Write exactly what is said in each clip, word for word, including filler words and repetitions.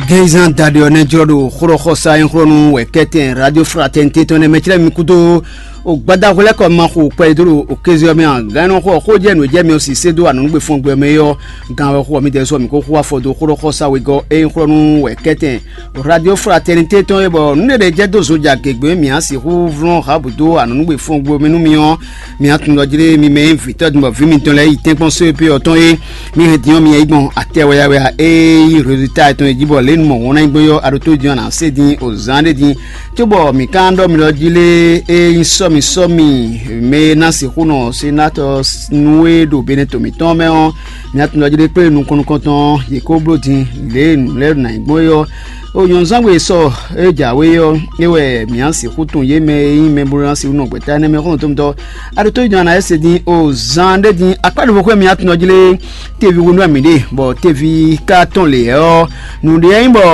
Gɛnzan daɖi ɔ́ nɛ́ jlɔ́ ɖo xlɔ́xɔsa nyixlɔ́nú wɛ kɛ́tɛn Radio Fraternité tɔn nɛ́ mɛ clɛ́ mi kúdó o gbadahwlɛ́kɔ ma xo kpɛɖé dó ɖo o kéze ɔ́ mɛ ǎ. Gǎn nɔ xɔ xó jɛ nǔ jɛ mi ɔ́ si sé dó anɔ̌nugbe fɔ́n gbɛ mɛ é ɔ́, gǎn wɛ xo ɔ́ mi dɛ́ sɔ́ mi kó xo afɔ dó xlɔ́xɔsa wegɔ́ é nyixlɔ́nú wɛ kɛ́tɛn Radio Fraternité tɔn é, bɔ nǔ ɖé ɖé jɛ dó zo ja gěgbé mǐ á sixú vlɔ́n hǎbǔ dó anɔ̌nugbe fɔ́n gbɛ mɛ nú mi ɔ́, mi á tunwun ɖɔ jlé mi mɛ e nyí vǐtɔ́ din bɔ vǐ mitɔn lɛ́ɛ yi tɛ́nkpɔ́n só e pé ɔ́ tɔn é. Mi hɛn din ɔ́, mi yɛ yi gbɔn atɛ wɛyawɛya e nyí rezilita tɔn e jí bɔ lě nu mɔ wɔn ná nyí gbɔn é ɔ́, a ɖo tó din ɔ́, a nǎ se din o zán ɖé din. Cóbɔ mǐ ka ɖɔ mi ɖɔ jí lé, é nyí sɔ́mi sɔ́mi mɛ e ná sixú nɔ senatɔ nú é ɖo benɛto mǐtɔn mɛ ɔ́, mi ná tunwun ɖɔ jí lé kplé nukɔn nukɔntɔn yě kó bló din lě e nǔ lɛ́ɛ ná nyí gbɔn é ɔ́. O nyɔ̌nzán gbe sɔ e jǎwe ɔ́, é wɛ mǐ á sixú tunwun yě mɛ e nyí mɛ bó ná sixú nɔ gbɛ̌ta énɛ́ mɛ xɔ́ntɔn tɔn. A ɖo tó yi dɔn a nǎ yɛ se din o zan ɖé din akpá ɖěvo xwé mǐ á tunɔ jlé teví hwenu wɛ mǐ ɖe, bɔ teví ka tɔn lě ɔ́, nǔɖé ɔ́ nyí bɔ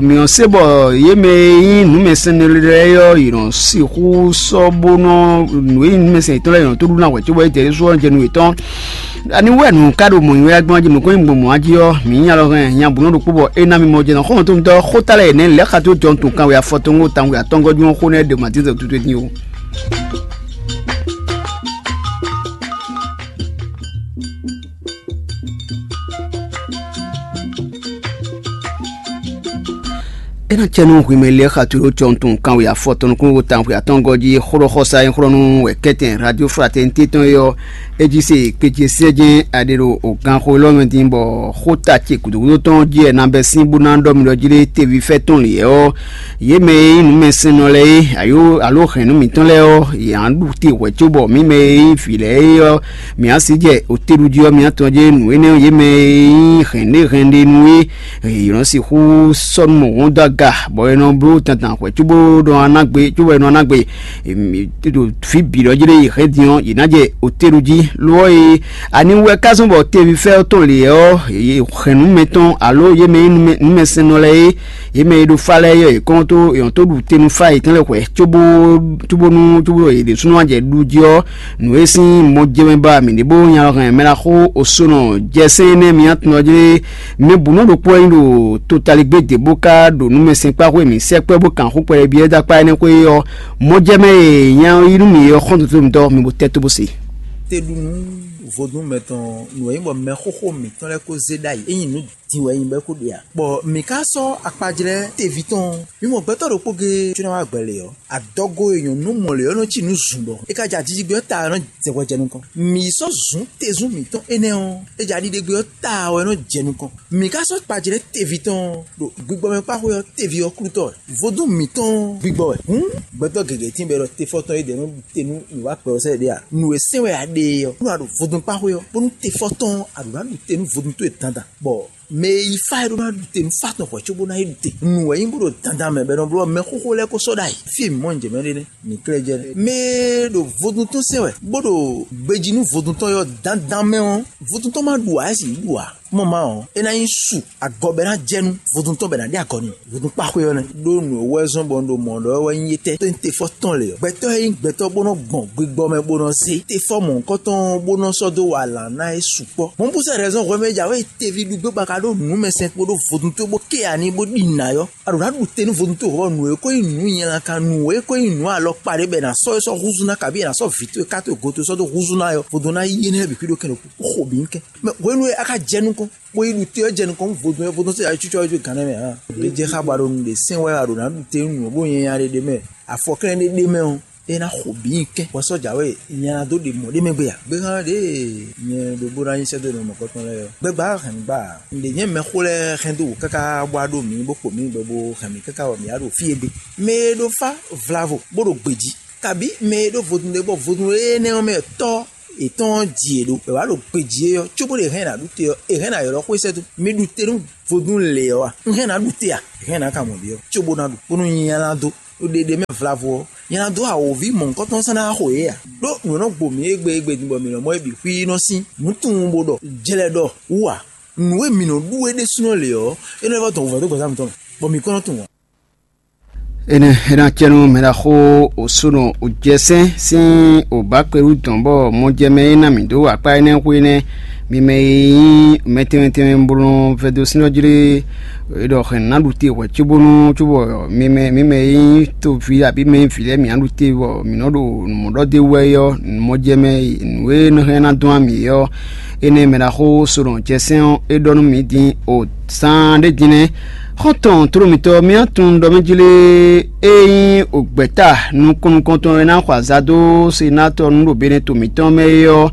mǐ ɔ́ se bɔ yě mɛ e nyí nǔmɛsɛn lɛ́ɛ ɔ́, yě nɔ sixú sɔ́ bó nɔ nǔ e nyí nǔmɛsɛn yětɔn lɛ́ɛ yě nɔ tó ɖu ná hwɛ̌ cóbɔ é jɛ ɖésú ɔ́ jɛ nú yětɔn. Ani wɛ nǔ ka ɖo mɔ̌ nywɛ́ gbɔn jí nǔkɔn nyí gbɔn mɔ̌ jí ɔ́, mǐ nya lɔ hɛn nya bǔ nɔ ɖokpó bɔ é ná mi mɔ jɛ nɔ xɔ́ntɔn tɔn xóta lɛ́ɛ nɛ́ lɛ̌ xa tó jɔn tun kanwe afɔtɔn tanwe atɔngɔ́ jí xó nɛ́ ɖe ma dín zɛ tutu dín o. É ná cɛ nú hwimɛ lɛ́ɛ xa tlóló cɔntun kanwe afɔtɔn nukúnnú tanxwe atɔngɔ́ jí xlɔ́xɔsa e xlɔ́ nú wɛ kɛ́tɛn Radio Fraternité tɔn é ɔ́, é jí se kpécé sɛ́jɛ́n aɖe ɖo o ganxo élɔ́ mɛ din bɔ xóta ce gǔdúgúdú tɔn jí wɛ nabɛ́ sín bó ná ɖɔ mi ɖɔ jí lé teví fɛ́ tɔn lě ɔ́, yě mɛ e nyí nǔmɛsɛnnɔ lɛ́ɛ é, ayó alo hɛ̌nnu mǐtɔn lɛ́ɛ ɔ́, yě á ɖu te hwɛ̌ cóbɔ mǐ mɛ e nyí vǐ lɛ́ɛ é ɔ́, mǐ á sí jɛ otéɖují ɔ́ mǐtɔn jɛ́n nǔ énɛ́ ɔ́, yě mɛ e nyí hɛ̌nɖéhɛ̌nɖénú é, yě nɔ sixú sɔ́ nú mɔ̌ dó aga, bɔ è nɔ bló dandan hwɛ̌ cóbó nɔ ná gbe cóbɔ è nɔ ná gbe. Ɖo fí bǐ ɖɔ jí ɖé yi hɛn din ɔ́, yě ná jɛ otéɖu jí. Lo ɔ́ e, ani wɛ ká zɔ́n bɔ teví fɛ́ ɔ́ tɔn lě ɔ́, hɛ̌nnu mɛtɔn alo yě mɛ e nyí numɛsɛnnɔ lɛ́ɛ é, yě mɛ e ɖo fá lɛ́ɛ é, yě kɔn tó yɔn tó ɖu te nú fá yětɔn lɛ́ɛ hwɛ̌ cóbó cóbónú cóbó yě ɖésúnɔ wá jɛ ɖu jí ɔ́, nǔ e sín mɔ jɛ mɛ ba mǐ ɖě bó nya hɛn mɛ ná xó osónɔ jɛ sɛ́n énɛ́ mǐ atɔn ɔ́ jí. Mɛ bǔ nɔ ɖokpó wɛ nyí ɖo totaligbé dě bó ká ɖo nǔmɛsɛnkpáxwé mǐ sɛkpɛ́ bó kan xó kpɛɖé byɔ́ dó akpá énɛ́ xwé ɔ́, mɔ jɛ mɛ e nya yí nú mǐ ɔ́ xɔ́ntɔn mǐtɔn mi bo tɛ́ tó bó se. Te ɖu nú vodún mɛtɔn nǔ e nyí bɔ mɛxóxó mǐtɔn lɛ́ɛ kó zé ɖ'ayǐ, é nyí nǔ din wɛ é nyí bɔ é kó ɖe ǎ. Bɔ mǐ ka sɔ́ akpajlɛ́ teví tɔn ɔ́, mǐ mɔ gbɛtɔ́ ɖokpó géé có ná wá gbɛ lě ɔ́, adɔgo e nyɔ̌nu mɔ lě ɔ́ nɔ cí nǔ zun ɖɔ é ka jɛ ajíjígbé ɔ́ ta ɔ́ nɔ jɛ hwɛ jɛ nukɔn. Mǐ sɔ́ zǔn tezún mǐtɔn énɛ́ ɔ́, é jɛ aɖiɖegbe ɔ́ ta ɔ́ é nɔ jɛ nukɔn. Mǐ ka sɔ́ kpajlɛ́ teví tɔn ɔ́ ɖo gbigbɔmɛ kpáxwé ɔ́ teví ɔ́ klútɔ́ wɛ. Vodún mǐtɔn ɔ́ gbigbɔ wɛ. Hǔn gbɛtɔ́ gěgé tín bɔ è ɖɔ tefɔtɔn e ɖě nɔ ɖu te nú nǔ wá kpɛ ɔ́ sɛ́ ɖé a? Nǔ e sɛ́n wɛ a ɖe é ɔ́, nú a ɖo vodún kpáxwé ɔ́, bónú tefɔtɔn ɔ́, a ɖǒ ná ɖu te nú vodún towe dandan. Bɔ mɛ e yi fá é ɖó ná ɖu te nú fá tɔn hwɛ̌ cóbó ná yi ɖu te. Nǔ wɛ nyí bó ɖo dandan mɛ bɔ è nɔ bló ɔ́, mɛxóxó lɛ́ɛ ko sɔ́ ɖ'ayǐ. Fí e mǐ mɔ nǔ jɛ mɛ ɖe nɛ́, mǐ klɛ́ jɛ nɛ́. Mɛ e ɖo vodún tɔn sɛn wɛ, bó ɖo gbejí nú vodún tɔn ɔ́ dandan mɛ ɔ́, vodún tɔn ma ɖu ǎ, é sì yi ɖu ǎ. Mɔ ma ɔ́, é ná nyí su agɔ bɔ é ná jɛ nú vodún tɔn bɔ è nǎ ɖe agɔ n'i. Vodún kpáxwé ɔ́ nɛ́. Ɖó nǔ e wɛ zɔ́n bɔ un ɖo mɔ̌ ɖɔ wɛ nyí étɛ́? Tó nyí tefɔ́ tɔn lě ɔ́, gbɛtɔ́ e nyí gbɛtɔ́ bó nɔ gbɔn gbigbɔ mɛ bó nɔ zé tefɔ́ mɔ̌hunkɔtɔn bó nɔ sɔ́ dó wa alǎ ná é sukpɔ́. Mɔ̌ bú sɛ́ rɛzɔn hwɛ mɛ ja wɛ teví ɖu gbé bɔ a ka ɖó nǔmɛsɛn kpódó vodún towe bó ké ani bó ɖi nǎ ɔ́, a ɖǒ ná ɖu te nú vodún towe hɔn nǔ e ko nyí nǔ nyɛlankan, nǔ e ko nyí nǔ alɔkpa ɖé bɔ è nǎ sɔ́ é sɔ́ húzú ná, kabí è nǎ sɔ́ vǐ towe ká towe go towe sɔ́ dó húzú ná ɔ́, vodún ná yí énɛ́ lɛ́ɛ bǐ xwí ɖó kɛn ɖokpó. Xo bǐ nyí kɛn. Mɛ hwenu e a ka jɛ nukɔn, bó yi ɖu te ɔ́ jɛ nukɔn nú vodún ɔ́, vodún ɔ́ sɔ́ yi cucɔ yi jó gǎn nɛ́ mɛ ǎ. Lě jɛ xá bɔ a ɖo nǔɖé sɛn wɛ a ɖǒ ná ɖu te nú nǔ bó nyanya ɖé ɖé mɛ, afɔ klɛ́n ɖé ɖé mɛ ɔ́, é ná xo bǐ nyi kɛ́n. Hwɛ sɔ́ jǎwe nyanya dó ɖe mɔ̌ ɖé mɛ gbé ǎ. Gbéhan ɖě nyɛ ɖo bó ná nyí sɛ́dó nɔ mɔ̌kɔtɔn lɛ́ɛ ɔ́, gbɛgbá hɛn mǐ gbá ǎ. Nǔɖé nyɛ mɛxó lɛ́ɛ hɛn dó wǔ káká bó wá ɖó mǐ bó kpo mǐ bɔ bó hɛn mǐ káká bɔ mǐ wá ɖo fí e gbe. Mɛ e ɖo fá vlavo bó ɖo gbějí, kabǐ mɛ e ɖó vodún ɖé bɔ vodún énɛ́ ɔ́ mɛ tɔ́ yětɔn ɔ́ ji yě ɖó, è wǎ ɖo gbejí é ɔ́, cóbó ɖo è hɛn ná ɖu te ɔ́, è hɛn ná ylɔ́ xwé sɛ́dó. Mi ɖu te nú vodún lě ɔ́ a? Un hɛn ná ɖu te a? È hɛn ná ka mɔ ɖě ɔ́, cóbó ná ɖu, bónú nyi nya ná dó. Ɖo ɖeɖe mɛ vlavo ɔ́, nya ná dó awǒvi mɔ̌hunkɔtɔn sɔ́ ná xo yě a? Ɖó nǔ e nɔ gbo mǐ égbé égbé din bɔ mǐ nɔ mɔ é bǐ xwí nɔ sín nǔ tunwun bó ɖɔ jlɛ ɖɔ wú a? Nǔ e mǐ nɔ ɖu é ɖésúnɔ lě ɔ́, é nɔ vɔ́ dɔn wǔvɛ́ dó gbɛ̌zán mǐtɔn mɛ, bɔ mǐ kɔn nɔ tunwun ǎ. Énɛ́ é ná cɛ nú mɛ ɖaxó òsónɔ òjɛsɛ́n sín òbǎkpelú dɔn bɔ mɔjɛmɛ e ná mǐ dó akpá énɛ́ xwé nɛ́ Mi mɛ e nyí mɛ tɛnmɛ tɛnmɛ bó nɔ vɛdó sín ɔ́ jlé, è ɖɔ hɛn nǎ ɖu te hwɛ̌ cóbónú cóbɔ mi mɛ mi mɛ e nyí toví abǐ mɛ e nyí vǐ lɛ́ɛ mǐ ná ɖu te bɔ mǐ nɔ ɖo nǔmɔɖɔ d'é wú wɛ é ɔ́, nǔmɔjɛmɛ nǔ e nɔ hɛn ná dɔn ami é ɔ́, énɛ́ mɛ ɖaxó Solɔn jɛ sɛ́n ɔ́, é ɖɔ nú mǐ din o zaan ɖé din nɛ́. Xɔ́ntɔn tló mǐtɔn mǐ tunwun ɖɔ mɛ jlé e nyí gbɛ̌ta nukɔn nukɔntɔn e ná xɔ azǎ dó senatɔ nú ɖo Benɛto mǐtɔn mɛ é ɔ́,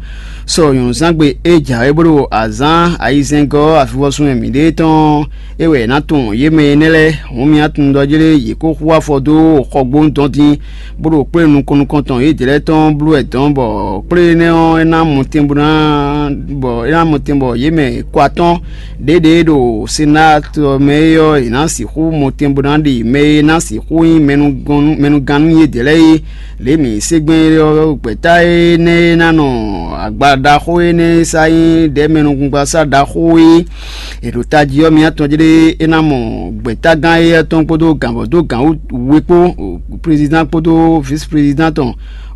sɔ nyɔ̌nuzángbe e jǎwe bó ɖo azǎn ayizɛ́ngɔ́ avivɔsun e mǐ ɖe tɔn é wɛ è nǎ tunwun yě mɛ énɛ́ lɛ́ɛ. Hǔn mǐ tunwun ɖɔ jlé yě kó xú afɔ dó xɔgbónu dɔn dín, bó ɖo kplé nukɔn nukɔntɔn yědɛɛ lɛ́ɛ tɔn bló wɛ dɔn, bɔ kplé énɛ́ ɔ́, é ná mɔtɛn bó ná bɔ é ná mɔtɛn bɔ yě mɛ kɔ atɔ́ɔ́n ɖěɖě ɖo Senat ɔ́ mɛ é ɔ́, yě ná sixú mɔtɛn bó ná ɖe mɛ e ná sixú nyí mɛnugɔn- mɛnugannú yědɛɛ lɛ́ɛ é. Lě mǐ se gbɛn é ɔ́, gbɛ̌ta énɛ́ e ná nɔ agba ɖaxó énɛ́ e sá nyí ɖɛ̌mɛnukúngbasá ɖaxó é, è ɖo tají ɔ́, mǐ atɔn jlé é ná mɔ gbɛ̌tágán éyɛ́ tɔn kpódó gǎnvɔ́ dó gǎn we kpó, prezidán kpódó vísiprézidán tɔn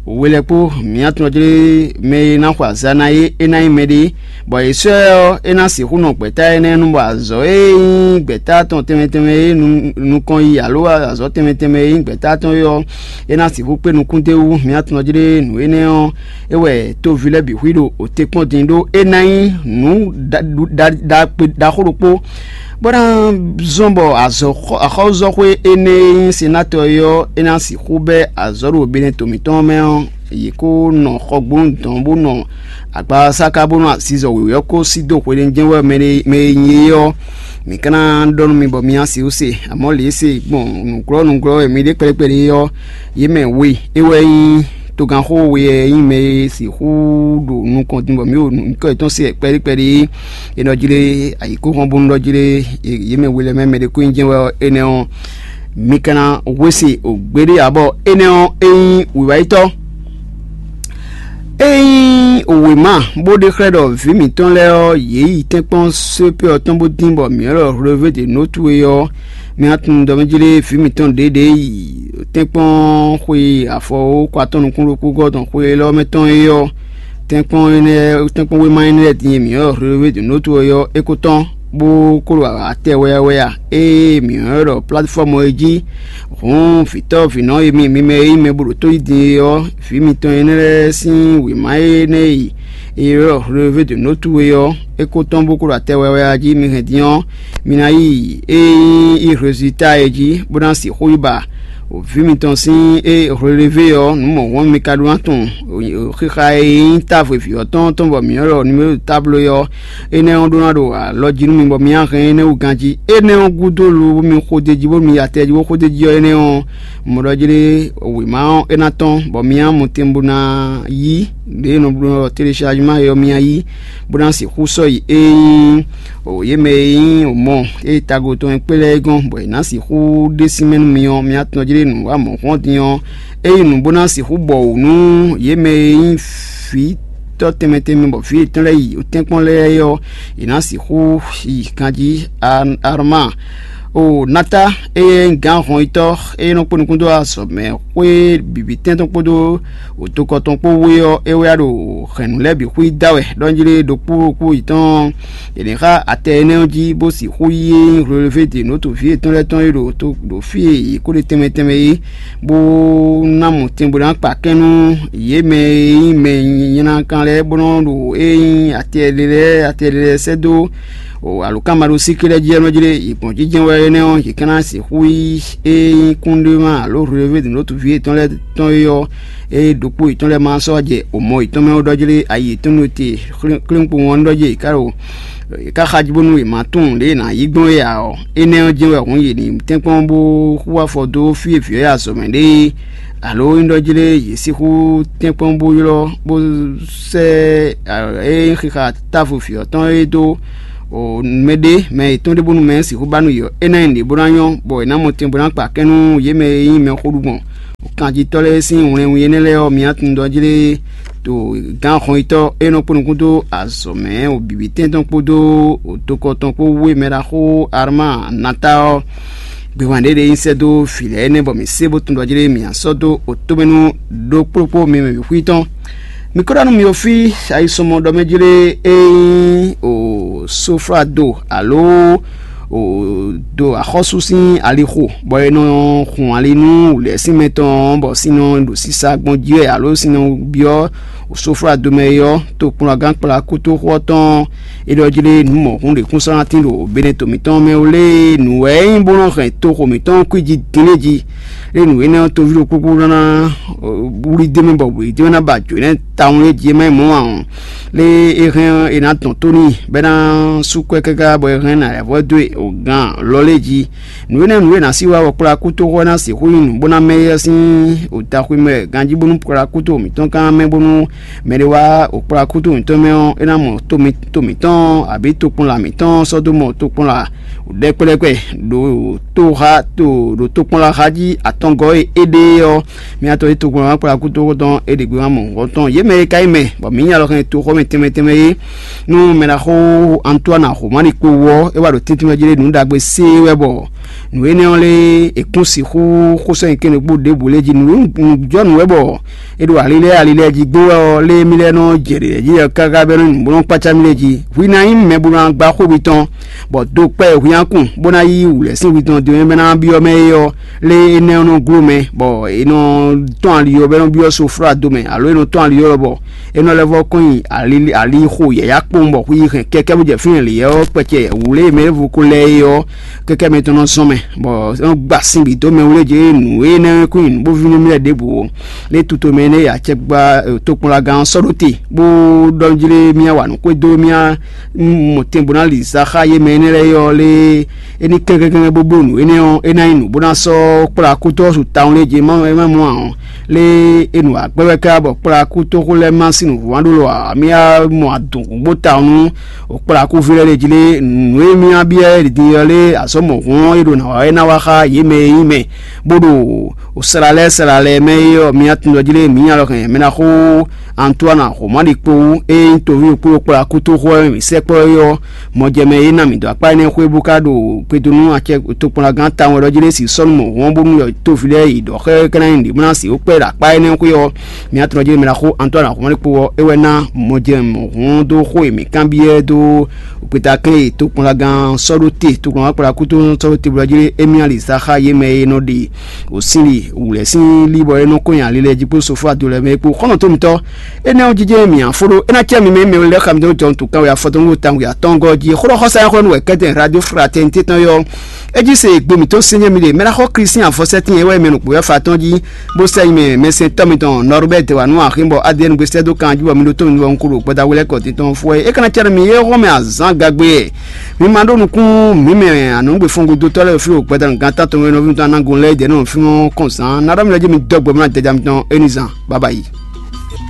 we lɛ́ɛ kpó. Mǐ atɔn jlé mɛ e ná xɔ azǎn ná é, é ná nyí mɛɖé, bɔ è sɔ́ ɛ ɔ́, é ná sixú nɔ gbɛ̌ta énɛ́ nu, bɔ azɔ̌ e nyí gbɛ̌ta tɔn tɛnmɛ tɛnmɛ e nukɔn yi alo azɔ̌ tɛnmɛ tɛnmɛ e nyí gbɛ̌ta tɔn é ɔ́, é ná sixú kpé nukún d'é wú. Mǐ atɔn jlé nǔ énɛ́ ɔ́, é wɛ toví lɛ́ɛ bǐ xwí ɖo òte kpɔ́n din ɖó é ná nyí nǔ ɖaxó ɖokpó, bó ná zɔ́n bɔ azɔ̌ axɔ́zɔ́xwé énɛ́ e nyí senatɔ é ɔ́, é ná sixú bɛ́ azɔ̌ ɖo Benɛto mǐtɔn mɛ ɔ́, yě kó nɔ xɔgbónu dɔn bó nɔ agbasáká bónú azizɔ wěwé ɔ́ kó sí dó hweɖénu jɛ́n wɛ mɛ e nyí é ɔ́, mǐ ka ná ɖɔ nú mi bɔ mi ná sixú se. Amɔ̌ lě e se gbɔn nǔglɔ́ nǔglɔ́ wɛ mi ɖe kpɛɖé kpɛɖé ɔ́, yě mɛ we é wɛ nyí togánxó we e nyí mɛ e sixú ɖo nukɔn din bɔ mǐ ɖo nǔkɔ yětɔn se kpɛɖé kpɛɖé. È nɔ jlé ayǐkúngban bónú ɖɔ jlé yě mɛ we lɛ́ɛ mɛ mɛ ɖé kó nyí jɛ́n wɛ ɔ́, énɛ́ ɔ́, mi ka ná hwe se gbeɖé ǎ, bɔ énɛ́ ɔ́, é nyí wǐwáyítɔ́. É nyí wěma bó ɖe xlɛ́ ɖɔ vǐ mǐtɔn lɛ́ɛ ɔ́, yě yi tɛ́nkpɔ́n sépé ɔ́ tɔn bó dín bɔ mǐ ɔ́ ɖɔ Hwlevě de Nǒtu é ɔ́, mi ná tunwun ɖɔ mɛ jlé vǐ mǐtɔn ɖěɖě yi tɛ́nkpɔ́n xwe afɔwókɔ atɔn nukún ɖokpó gɔ́ tɔn xwe élɔ́ mɛ tɔn é ɔ́, tɛ́nkpɔ́n énɛ́ tɛ́nkpɔ́n wéma énɛ́ lɛ́ɛ din e mǐ ɔ́ ɖɔ Hwlevě de Nǒtu é ɔ́, é ko tɔ́n, bó kó ɖo atɛ wɛyawɛya e mǐ ɔ́ ɖɔ platifɔ́mu é jí. Hǔn vǐtɔ́ vǐnɔ e mi mi mɛ e nyí mɛ bó ɖo tó yí din é ɔ́, vǐ mitɔn énɛ́ lɛ́ɛ sín wěma énɛ́ e è ylɔ́ Hwlevě de Nǒtu é ɔ́, é ko tɔ́n bó ko ɖo atɛ wɛwɛ jí. Mi hɛn din ɔ́, mi ná yi e nyí Hlozita é jí, bó ná sixú yi ba vǐ mitɔn sín e Hwlevě ɔ́, nǔ mɔ̌hun mi ka ɖó ná tunwun xixa e nyí távo vǐ ɔ́ tɔn tɔn bɔ mǐ ylɔ́ nimero táblo é ɔ́, énɛ́ ɔ́ ɖó ná ɖo alɔ jí nú mi bɔ mi ná hɛn énɛ́ wú ganjí. Énɛ́ ɔ́ gúdo lobo mi xo d'é jí bónú mi yi atɛ jí bó xo d'é jí ɔ́, énɛ́ ɔ́, mɔ̌ ɖɔ jlé wěma ɔ́ é ná tɔ́n, bɔ mi ná mɔ tɛn bó ná yí ɖě e nɔ bló ɔ́, téléchargement é ɔ́, mi ná yí, bó ná sixú sɔ́ yi ée nyí yě mɛ e nyí mɔ e tago tɔn e kplé lɛ́ɛ é gɔ́n, bɔ è nǎ sixú ɖe sín mɛ nú mi ɔ́, mi ná tɔ́n jlé nǔ wa mɔ̌ hɔn din ɔ́, é nyí nǔ bó ná sixú bɔ wǔ nú yě mɛ e nyí vǐ tɔ́ tɛnmɛ tɛnmɛ bɔ vǐ yětɔn lɛ́ɛ yi tɛ́nkpɔ́n lɛ́ɛ é ɔ́, è nǎ sixú yi ganjí. Arma o Nata, eye nyí gǎn hɔnyitɔ́ e nɔ kpó nukún dó azɔ̌ mɛ xwé bǐbí tɛn tɔn kpódó wǒtokɔ tɔn kpó wú é ɔ́, é wɛ wá ɖo hɛ̌nnu lɛ́ɛ bǐ xwí da wɛ ɖɔ njí lé ɖokpó ɖokpó yětɔn è nǐ xá atɛ énɛ́ ɔ́ jí, bó sixú yí e nyí Hwlevě de nǔ to vǐ yětɔn lɛ́ɛ tɔn e ɖo to ɖo fí e yě kó ɖe tɛnmɛ tɛnmɛ é, bó ná mɔ tɛn bó ná kpa kɛn nú yě mɛ e nyí mɛ nyanya kan lɛ́ɛ, bó nɔ́ ɖo e nyí atɛ ɖé lɛ́ɛ atɛ ɖé lɛ́ɛ sɛ́ dó alǒkanmaɖósíké lɛ́ɛ jí ɔ́ nɔ jlé yě gbɔn jínjɛ́n wɛ énɛ́ ɔ́, yě ka ná sixú yí e nyí kúnɖéma alo Hwlevě de nǔ to vǐ yětɔn lɛ́ɛ tɔn é ɔ́, ée ɖokpó yětɔn lɛ́ɛ ma sɔ́ jɛ omɔ yětɔn mɛ ó ɖɔ jlé ayi yětɔn nú te klínkpowun ɔ́ ɖɔ jlé yě ká ɖo yě ká xají bónú yě ma tunwun lě e è nǎ yí gbɔn é ǎ ɔ́, énɛ́ ɔ́ jɛ́n wɛ hǔn yě ní tɛ́nkpɔ́n bó xú afɔ dó fí e vǐ ɔ́ yi azɔ̌ mɛ ɖe é, alo é ɖɔ jlé yě sixú tɛ́nkpɔ́n bó ylɔ́ bó sɛ́ é nyí xixa távo vǐ ɔ́ tɔn é dó mɛɖé mɛ yětɔn ɖé bónú mɛ sixú ba nú yě ɔ́, é ná nyí nǔɖé bó ná nyɔ́, bɔ è nǎ mɔ tɛn bó ná kpa kɛn nú yě mɛ e nyí mɛxó ɖu gbɔn kanjitɔ́ lɛ́ɛ sín wlɛnwun énɛ́ lɛ́ɛ ɔ́, mi ná tunwun ɖɔ jlé ɖo gǎn hɔnyitɔ́ e nɔ kpó nukún dó azɔ̌ mɛ o bǐbí tɛn tɔn kpódó dokɔ tɔn kpó wú e mɛ ɖaxó Arma Nata ɔ́, gběhan ɖé ɖe nyi sɛ́ dó vǐ lɛ́ɛ énɛ́ bɔ mǐ sé bó tunwun ɖɔ jlé mǐ ná sɔ́ dó otomɛ nú ɖokpó ɖokpó mi mɛ bǐ xwí tɔn. Mi ko ɖɔ nú mi o fí ayisɔmɔ ɖɔ mɛ jlé e nyí o soflado alo o do axɔ́sú sín alixo, bɔ è nɔ hun ali nú wǔlɛ́sínmɛ tɔn, bɔ sin nɔ ɖo sisa gbɔn jí wɛ alo sin nɔ byɔ́ o soflado mɛ é ɔ́, tokplɔ́ngán kplá kútóxó ɔ́ tɔn é ɖɔ jlé nǔ mɔ̌hun ɖě kún sɔ́ ná tín ɖo Benɛto mǐtɔn mɛ ó lé. Nǔ wɛ é nyí bó nɔ́ hɛn toxo mǐtɔn kwí jí din lé jí. Lé nǔ énɛ́ ɔ́, toví ɖokpó kpó ná wlí d'é mɛ bɔ wlǐ d'é mɛ ná ba jǒ nɛ́ tawun lé jí é má nyí mɔ̌ ǎ ɔ́, lé é hɛn é ná dɔn tó n'i bɔ é ná sú kwɛ́ káká bɔ é hɛn ná lɛ̌ vɔ́ dó e o gǎn lɔ lé jí. Nǔ énɛ́ nǔ e è nǎ sí wa bɔ kplá kútóxó ná sixú nyí nǔ bó ná mɛ éyɛ́ sín o daxwé mɛ ganjí bónú kplá kútó mǐtɔn gán mɛ bónú mɛ ɖé wá o kplá kútó mǐtɔn mɛ ɔ́, é ná mɔ to mǐtɔn abǐ tokpɔnla mǐtɔn sɔ́ dó mɔ tokpɔnla ɖɛkpɛɖɛkpɛ ɖo toxa to ɖo tokpɔnla xa jí atɔngɔ́ e é ɖe ɔ́. Mía tɔn e tokpɔnla wá kplá kútóxó tɔn é ɖě gbé wá mɔ nǔ tɔn yě mɛ e ka nyí mɛ bɔ mǐ nya lɔ hɛn toxɔ́mɛ tɛnmɛ tɛnmɛ é. Nú mɛ ná xo Antoine Romani kpo wú ɔ́, é wá ɖo tɛ́ntin mɛ jí ɖé nǔ ɖagbe sé wɛ bɔ nǔ énɛ́ ɔ́ lé è kún sixú xó sɔ́ nyi kɛ́n ɖokpó ɖěbǔ lɛ́ɛ jí nǔjɔnǔ wɛ bɔ è ɖo ali lɛ́ɛ ali lɛ́ɛ jí gbó wɛ ɔ́, lé mì lɛ́ɛ nɔ jɛ ɖě jí ɔ́ káká bɛ́ nɔ nyí bó nɔ́ kpácá mì lɛ́ɛ jí. Hwi ná nyí mɛ bó ná gbá xó mitɔn, bɔ do kpɛ́ hwi ná kun bó ná yí wǔlɛ́ sín hwi tɔn dó mɛ ná byɔ́ mɛ é ɔ́, lé énɛ́ ɔ́ nɔ gló mɛ, bɔ è nɔ tɔ́n ali ɔ́ bɛ́ nɔ byɔ́ soflá do mɛ, alo è nɔ tɔ́n ali ɔ́ bɔ é nɔ lɛ́ vɔ́ kɔn nyi ali ali xo yɛ̌yá kpowun bɔ xwi yi hɛn kɛ́kɛ́ bó jɛ fínɛ́ lě ɔ́ kpɛcɛ wǔlé e mɛ é vo ko lɛ́ é ɔ́, kɛ́kɛ́ mɛ tɔn nɔ zɔn mɛ, bɔ é nɔ gba sin bǐ dó mɛ wú lé jě nǔ énɛ́ kún nyi nǔ bó ví nú mì lɛ́ɛ ɖěbǔ ó. Lé tuto mɛ énɛ́ e acɛkpa tokpɔnlagán ɔ́ sɔ́ ɖó te, bó ɖɔ jlé mì wa nǔ xwedó mì mɔ tɛn bó ná li za xá yé mɛ énɛ́ lɛ́ɛ ɔ́ lé é ní kɛ́nkɛ́nkɛ́n bó bló nǔ énɛ́ ɔ́, é ná nyí nǔ bó ná sɔ́ kplá kútɔ́ su tawun lé jě má é má mɔ ǎ ɔ́, lé é nu agbɛ́ wɛ ká bɔ kplá kútóxó lɛ́ɛ má sín nǔvú má ɖó lɔ ǎ. Mì wá mɔ adǔngbó tawun nú kplá kúví lɛ́ɛ lé jí lé nǔ e mì wá byɔ́ é din ɔ́ lé azɔ̌ mɔ̌hun ɔ́ é ɖo nǎ wá é ná wá xá yě mɛ e nyí mɛ bó ɖo o sla lɛ́ɛ sla lɛ́ɛ mɛ é ɔ́, mì wá tun ɖɔ jí lé mǐ nya lɔ hɛn mɛ ná xó Antoine Romani kpó wú é nyí toví kpó kplá kútóxó ɔ́ mì sɛkpɔ́ é ɔ́, mɔjɛmɛ e ná mǐ dó akpá énɛ́ xwé bó ká ɖo gbedo nú acɛ tokpɔnlagán tawun wɛ ɖɔ jí lé si sɔ́ nú mɔ̌hun ɔ́ bónú yɔ tóví lɛ́ɛ yi ɖɔ xɛ é ka ná nyí nǔɖé bó ná si ó kpɛ́ ɖo akpá énɛ́ xwé ɔ́, mǐ wá tun ɖɔ jí lé mɛ ná xó Antoine Romani kpó ɔ́ é wɛ ná mɔjɛmɛ mɔ̌hun dó xó e mǐ kanbyɔ́ dó gbeta kɛn e tokpɔnlagán sɔ́ ɖó te tokpɔnlagán kplá kútóxó sɔ́ ɖó te bó ɖɔ jí lé émí ali zá xá yě mɛ e nɔ ɖe wǒ sín li wǔlɛ́ sín lí bɔ é nɔ kó nyi ali lɛ́ɛ jí kpó sofú ado lɛ́ɛ mɛ é kpó xɔ́nɔtɔ́mítɔ́. Énɛ́ ɔ́ jijɛ mǐ afó ɖó é ná cɛ mi mɛ mɛ lɛ́ɛ xa mi dó jɔ nǔ tɔn wɛ afɔtɔn wó tawun ya tɔn gɔ́ jí xó ɖɔ xɔsa nyɛ xó nú wɛ kɛ́tɛn radio fraternité tɔn yɔ é jí se gbe mǐtɔn sɛnyɛ mi ɖe mɛ ná xɔ Klísin afɔsɛ́tín é wɛ mɛ nukpó yɔ fa tɔn jí bó sɛ nyi mɛ mɛsɛntɔ́ mitɔn Norbert wa nú axin bɔ adéɛnu gbé sɛ́ dó kan jí bɔ mi ɖó tó mi bɔ un ko ɖo gbɛda wlɛ́ kɔ titɔn fú wɛ é ka ná cɛ mi yé xɔ mɛ azán gagbe mi ma ɖó nukún mi mɛ anɔgbe fɔngudotɔ lɛ́ɛ fi o gbɛda gán tán tɔn wɛ nɔví mitɔn anagun lɛ́ɛ dɛ nɔ fi mɔ kɔn zán na ɖɔ mi lɛ jí mi dɔgbe mɔ na dɛdza mitɔn éni zán baba yi.